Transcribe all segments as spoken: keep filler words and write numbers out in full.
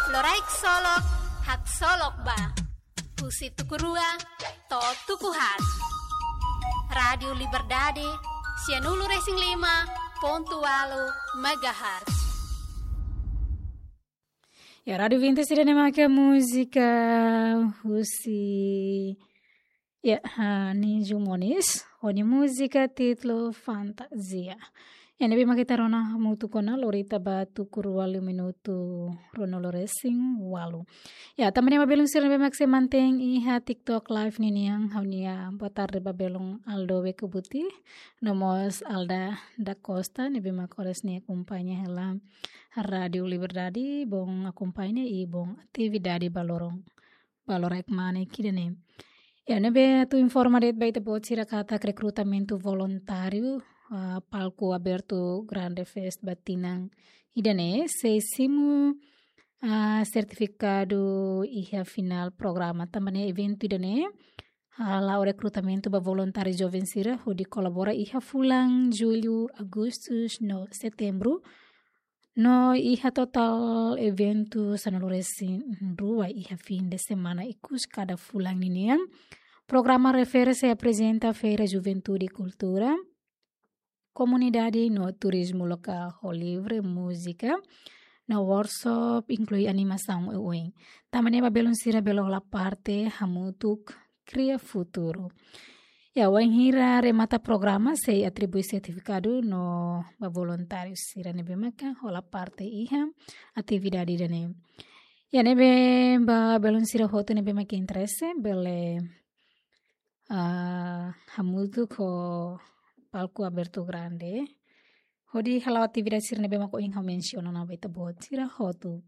Loraik Solok, Haksolok Ba. Husi tuku rua to'o tuku haat. Rádiu Liberdade, sianulu-resin-lima pontu ualu megahertz. Ya, Rádiu Vintes ida-ne'e maka múzika husi, ya, ha, Ninju Moniz, ho nia múzika títulu Fantazia. Ya, ne'ebé maka ita rona hamutuk ona, lori tiha ba tuku rua liu minutu ruanulu-resin-ualu. Ya, tanba ne'e ba belun sira ne'ebé mak sei mantein iha TikTok Live ninian, ha'u-nia boa tarde ba belun Aldo Wekubuti, no mós Alda da Costa, ne'ebé mak oras ne'e akompaña hela Rádiu Liberdade, bom akompaña i bom atividade ba loron, ba loraik mane ida-ne'e. Ya, ne'ebé atu informa de'it ba ita-boot sira katak rekrutamentu voluntáriu, ah, Palco Aberto Grande Fest ba tinan ida-ne'e, sei simu, ah, sertifikadu iha finál programa. Tanba ne'e eventu ida-ne'e, ah, la'o rekrutamentu ba voluntáriu joven sira, hodi kolabora iha fulan Jullu, Agostu no Setembru, no iha totál eventu sanulu-resin-rua iha fin de semana ikus kada fulan ninian. Programa refere sei aprezenta Feira Juventude i Kultura, Komunidade no Turizmu Lokál ho livre, múzika, no workshop inklui animasaun oioin. Tanba ne'e ba belun sira bele hola parte hamutuk kria futuru. Ya, wainhira remata programa sei atribui sertifikadu no ba voluntáriu sira ne'ebé maka hola parte iha atividade ida-ne'e. Ya, ne'ebé ba belun sira hotu ne'ebé maka interese bele, ah, hamutuk ho Palco Aberto Grande hodi hala'o atividade sira ne'ebé mak ohin ha'u mensiona ona ba ita-boot sira hotu.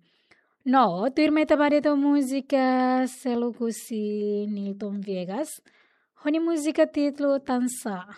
No, tuirmai ita ba de'it ho múzika seluk husi Nilton Viegas, ho nia múzika títulu Tansá.